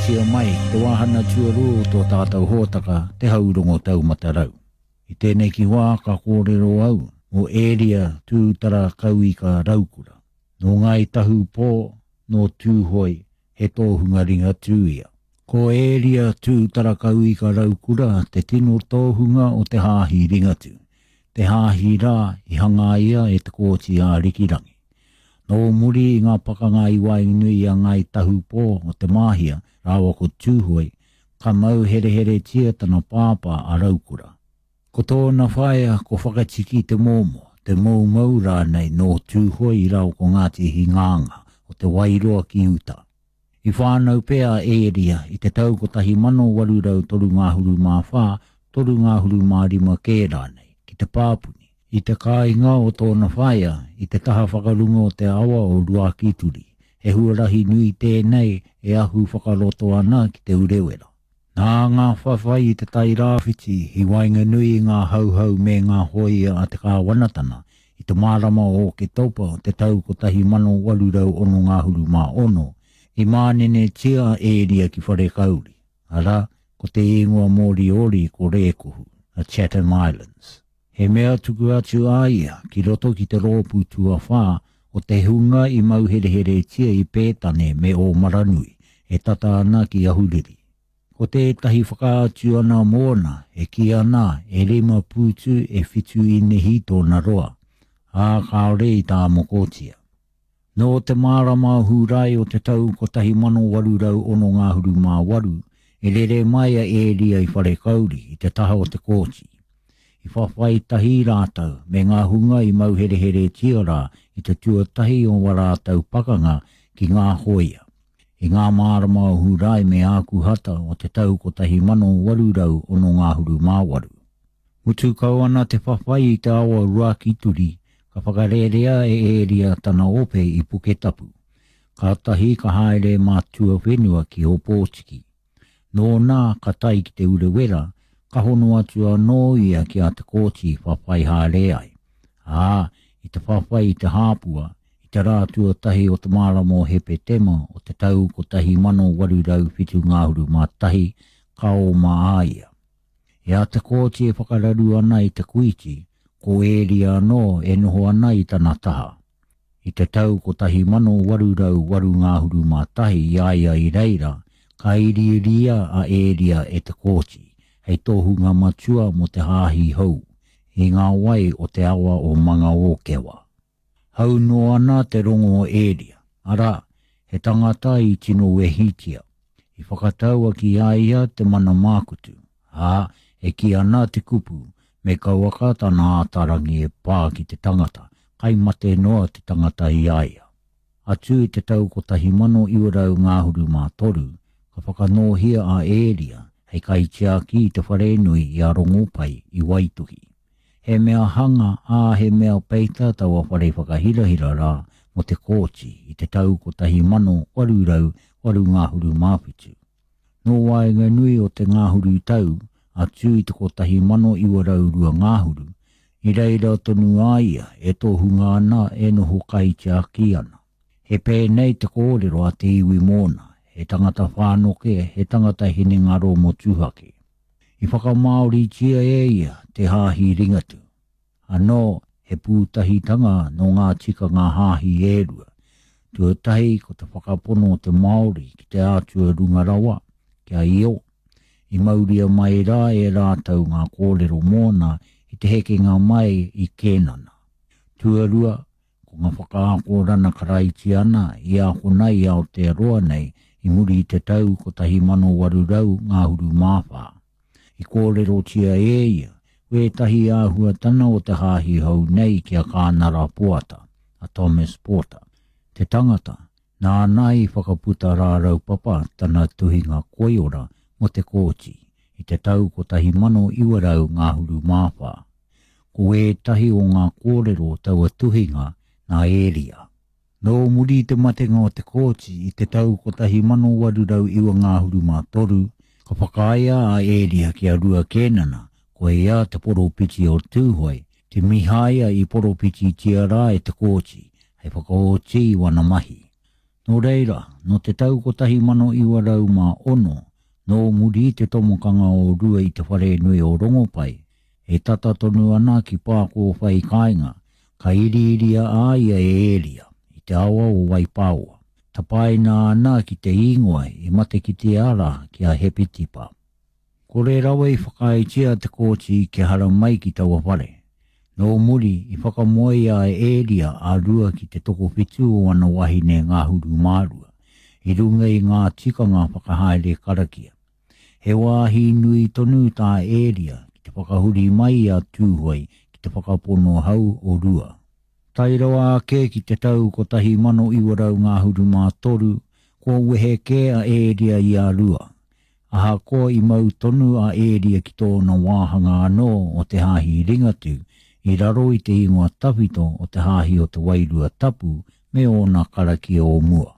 tia mai ki te wāhana tuarua o tō tātou hōtaka Te Haurongo Taumata Rau. I tēnei ki wā ka kōrero au mō Ēria Tūtara Kauika Raukura. Nō Ngāi Tahu Pō, nō Tūhoe, he tōhunga Ringatū ia. Ko Ēria Tūtara Kauika Raukura te tino tōhunga o te Hāhi Ringatū, te hāhi rā i hangaia e Te Kooti Ārikirangi. Nō muri i ngā pakanga i waenganui i a Ngāi Tahu Pō o Te Māhia rāua ko Tūhoe, ka mau hereheretia tana pāpā a Raukura. Ko tōna whaea ko Whakatiki Te Mōmō, Te Moumou rānei nō Tūhoe i rao ko Ngāti Hingānga o Te Wairoa ki uta. I whānau pea a Ēria i te tau 1834, 35 kē rānei, ki Te Pāpuni, i te kāinga o tōna whaea i te taha whakarunga o te awa o Ruakituri, he huarahi nui tēnei e ahu whakaroto ana ki Te Urewera. Nā ngā whawhai i Te Tai Rāwhiti i waenganui i ngā Hauhau me ngā hōia a te kāwanatana i te marama o Oketopa o te tau 1866, i mānenetia a Ēria ki Wharekauri, arā, ko te īngoa Moriori ko Rēkohu, the Chatham Islands. He mea tuku atu a ia ki roto ki te rōpū tuawhā o te hunga i mauhereheretia i Pētane me Ōmaranui, e tata ana ki Ahuriri. Ko tētahi whakaatu ana mōna e kī ana e rima pūtu e whitu īnehi tōna roa, ā, kāore i tāmokotia. Nō te marama o Hūrae o te tau 1868, i rere mai a Ēria i Wharekauri i te taha o Te Kooti. I whawhai tahi rātou me ngā hunga i mauhereheretia rā i te tuatahi o wā rātou pakanga ki ngā hōia. I ngā marama o Hūrae me Ākuhata o te tau 1868. Mutu kau ana te whawhai i te awa Ruakituri, ka whakarērea e Ēria tana ope i Puketapu. Kātahi ka haere mā tuawhenua ki Ōpōtiki. Nōna ka tae ki Te Urewera, ka hono atu anō ia ki a Te Kooti whawhai haere ai. Ā, i te whawhai i Te Hāpua, i te rā tuatahi o te marama o Hepetema o te tau 1871, ka oma a ia. I a Te Kooti e whakararu ana i Te Kuiti, ko Ēria anō e noho ana i tana taha. I te tau 1881 i a ia i reira, ka iriiria a Ēria e Te Kooti hei tohunga matua mō te hāhi hou, i ngā wai o te awa o Mangaōkewa. Hau noa ana te rongo o Ēria, arā, he tangata i tino wehitia. I whakataua ki a ia te mana mākutu, ā, e kī ana te kupu, me kauaka tana ātarangi e pā ki te tangata, kai mate noa te tangata i a ia. Atu i te tau 1923, ka whakanōhia a Ēria hei kaitiaki i te wharenui i a Rongopai i Waituhi. He mea hanga, ā, he mea peita taua whare whakahirahira rā mō Te Kooti i te tau 1887. Nō waenganui o te ngahuru tau atu i te 1902 ngahuru, i reira tonu a ia e tohunga ana e noho kaitiaki ana. He pēnei te kōrero a te iwi mōna, he tangata whānoke, he tangata hinengaro motuhake. I whakamāoritia e ia te Hāhi Ringatū. Anō, he pūtahitanga nō ngā tikanga hāhi e rua. Tuatahi ko te whakapono o te Māori ki te Atua runga rawa, ki a Io. I mauria mai rā e rātou ngā kōrero mōna i te hekenga mai i Kēnana. Tuarua, Ko ngā whakaakorana Karaitiana i ākona i Aotearoa nei i muri i te tau 1824. I kōrerotia e ia wētahi āhuatana o te hāhi hou nei ki a Kānara Poata, a Thomas Porter, te tangata nāna i whakaputa rāraupapa tana tuhinga koiora mō Te Kooti i te tau 1924. Ko ētahi o ngā kōrero o taua tuhinga nā Ēria. Nō muri i te matenga o Te Kooti i te tau 1893, ka whakaaea a Ēria ki a Rua Kēnana, ko ia te poropiti o Tūhoe, te Mihaia i poropititia rā e Te Kooti hei whakaoti i wana mahi. Nō reira, nō te tau 1906, nō muri i te tomokanga o Rua i te wharenui o Rongopai, e tata tonu ana ki Pākōwhai kāinga, ka iriiria a ia e Ēria, i te awa o Waipāoa. Tapaina ana ki te īngoa i matekitea rā ki a Hepetipa. Kore rawa i whakaaetia te kōti kia haramai ki taua whare. Nō muri, i whakamoea e Ēria a Rua ki te tokowhitu o ana wahine ngahuru mārua, i runga i ngā tikanga whakahaere karakia. He wāhi nui tonu tā Ēria ki te whakahuri mai i a Tūhoe ki te whakapono hau o Rua. Tae rawa ake ki te tau 1933, kua wehe kē a Ēria i a Rua, Ahakoa i mau tonu a Ēria ki tōna wāhanga anō o te Hāhi Ringatū i raro i te ingoa tawhito o te Hāhi o te Wairua Tapu me ōna karakia o mua.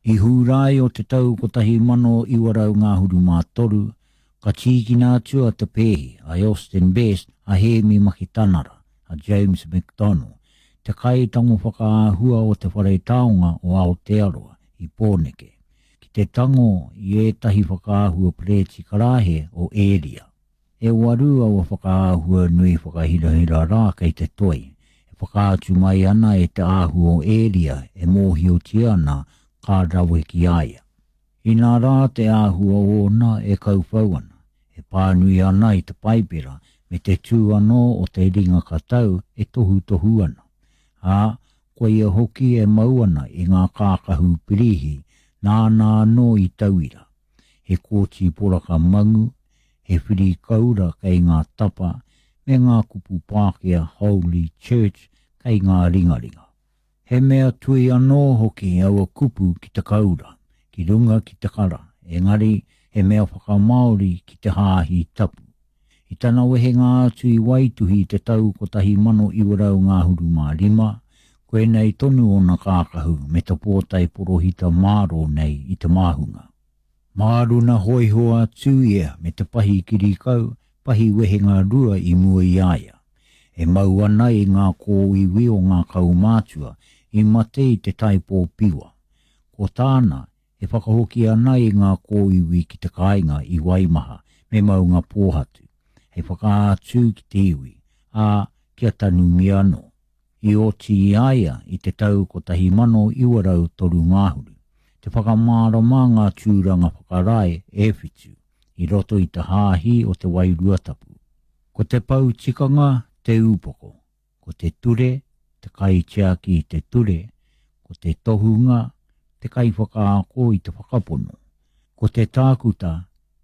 I Hūrae o te tau 1933, ka tīkina atu a Te Pēhi, a Elston Best, a Hēmi Makitanara, a James McDonnell, te kaitango whakaahua o Te Whare Taonga o Aotearoa i Pōneke, ki te tango i ētahi whakaahua perēti karāhe o Ēria. E waru aua whakaahua nui whakahirahira rā kei te toi, e whakaatu mai ana e te āhua o Ēria e mōhiotia ana ka rawe ki a ia. Inā rā te āhua ōna e kauwhau ana, e pānui ana i te Paipera me te tū anō o te ringa katau e tohutohu ana, ā, koia hoki e mau ana i ngā kākahu pirīhi nāna anō i tauira, he kōti poraka mangu, he whiri koura kei ngā tapa, me ngā kupu Pākehā Holy Church kei ngā ringaringa. He mea tui anō hoki aua kupu ki te koura, ki runga ki te kara, engari he mea whakamāori ki te hāhi tapu. I tana wehenga atu i Waituhi i te tau 1935, koinei tonu ōna kākahu me te pōtae porohita mārō nei i te māhunga. Māruna hōiho atu ia me te pahi kirikau, pahi wehenga rua i mua i a ia. E mau ana i ngā kōiwi o ngā kaumātua i mate i te taipō piwa. Ko tāna, e whakahoki ana i ngā kōiwi ki te kāinga i Waimaha me Maungapōhatu, hei whakaatu ki te iwi, ā, kia tanumia anō. I oti i a ia i te tau 1903 ngahuru, te whakamārama ngā tūranga whakarae e whitu i roto i te Hāhi o te Wairua Tapu. Ko te pou tikanga te ūpoko. ko te ture, te kaitiaki i te ture, ko te tohunga, te kaiwhakaako i te whakapono, ko te tākuta,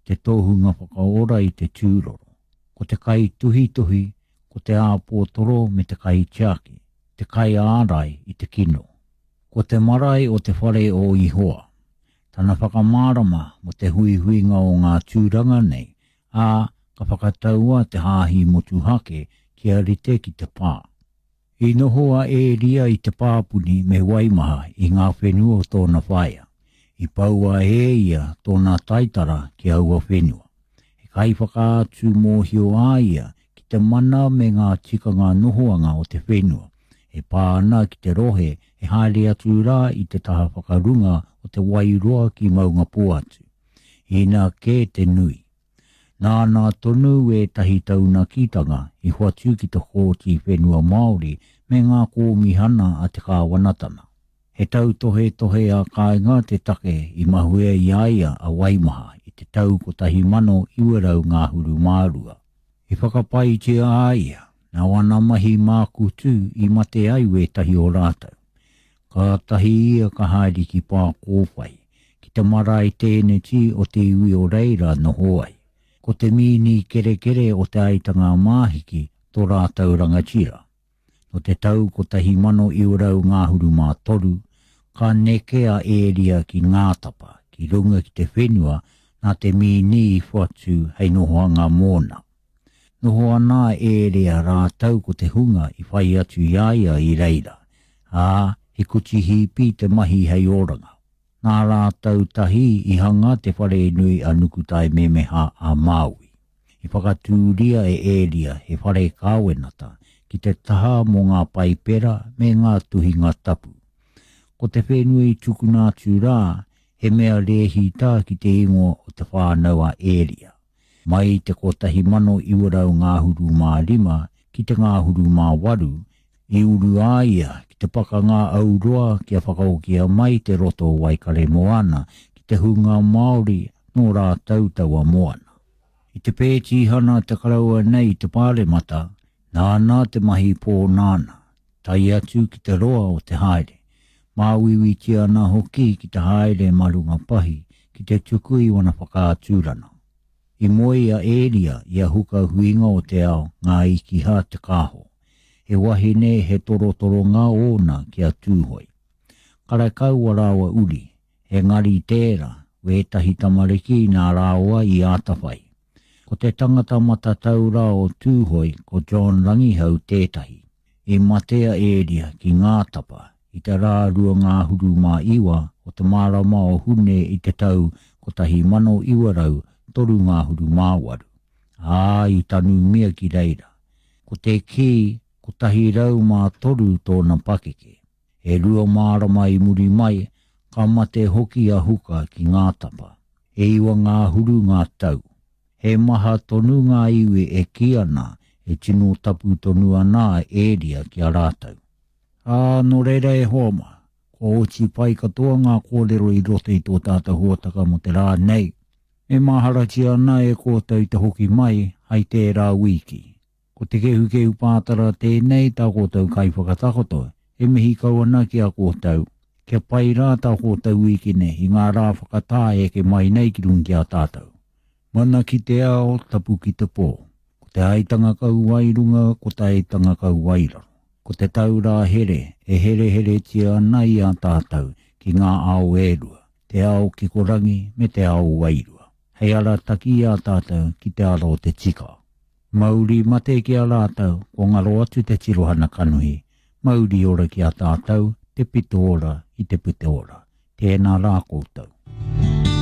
te tohunga whakaora i te tūroro, ko te kaituhituhi, ko te āpōtoro me te kaitiaki, te kaiārai i te kino. Ko te marae o te whare o Ihoa, tana whakamārama mō te huihuinga o ngā tūranga nei, ā, ka whakataua te hāhi motuhake kia rite ki te pā. I noho a Ēria i Te Pāpuni me Waimaha i ngā whenua o tōna whaea. I poua e ia tōna taitara ki aua whenua. He kaiwhakaatu mōhio a ia ki te mana me ngā tikanga nohoanga o te whenua, e pā ana ki te rohe e haere atu rā i te taha whakarunga o Te Wairoa ki Maungapōhatu. Inā kē te nui. Nāna tonu ētahi taunakitanga i hoatu ki te Kōti Whenua Māori me ngā kōmihana a te kāwanatana. He tautohetohe ā-kāinga te take i mahue i a ia a Waimaha i te tau 1922. I whakapaetia a ia, nā wana mahi mākutu i mate ai wētahi o rātou. Kātahi ia ka haere ki Pākōwhai, ki te marae tēneti o te iwi o reira noho ai. Ko te mīni kerekere o Te Aitanga-a-Māhiki tō rātou rangatira. Nō te tau 1923, ka neke a Ēria ki Ngātapa, ki runga ki te whenua nā te mīni i whatu hei nohoanga mōna. Noho ana a Ēria rātou ko te hunga i whai atu i a ia i reira, ā, he kuti hīpi te mahi hei oranga. Nā rātou tahi i hanga te wharenui a Nukutaememeha a Māui. I whakatūria e Ēria he whare kāwenata ki te taha mō ngā Paipera me ngā tuhinga tapu. Ko te whenua i tukuna atu rā, he mea rēhita ki te ingoa o Te Whānau a Ēria. Mai i te 1935 ki te ngahuru mā waru, i uru a ia ki te pakanga auroa kia whakahokia mai te roto o Waikaremoana ki te hunga Māori nō rātou taua moana. I te pētīhana te karaua nei i te Pāremata, nāna te mahi pōnānā, tae atu ki te roa o te haere. Māuiuitia ana hoki ki te haere mā runga pahi ki te tuku i wana whakaaturana. I moe a Ēria i a Huka Huinga o te Ao Ngā Ikiha Te Kāho. He wahine he torotoronga ōna ki a Tūhoe. Karekau a rāua uri, engari tērā wētahi tamariki nā rāua i ātawhai. Ko te tangata matatau rā o Tūhoe ko John Rangihau tētahi. I mate a Ēria ki Ngātapa i te rā 29 o te marama o Hune i te tau 1938, ā, i tanumia ki reira. Ko te kī, 103 tōna pakeke. E rua marama i muri mai, ka mate hoki a Huka ki Ngātapa. E iwa ngāhuru ngā tau. He maha tonu ngā iwi e kī ana e tino tapu tonu ana a Ēria ki a rātou. Ā, nō reira e hoa mā, kua oti pai katoa ngā kōrero i roto i tō tātou hōtaka mō te rā nei. E maharatia ana e kōtou te hoki mai hai tērā wīki. Ko Te Kehukehu Pātara tēnei tā kōtou kaiwhakatakoto, e mihi kau ana ki a kōtou. Kia pai rā tā kōtou wīkene i ngā rā whakatā e eke mai nei ki runga ki a tātou. Mana ki te ao, tapu ki te pō. Ko te aitanga kau wai runga, ko te aitanga kau wai raro. Ko te taurā here e hereheretia ana i a tātou ki ngā ao e rua, te ao kikorangi me te ao wairua, hei arataki i a tātou ki te ara o te tika. Mauri mate ki a rātou, kua ngaro atu te tirohana kanohi, mauri ora ki a tātou, te pito ora i te pute ora. Tēnā rā koutou.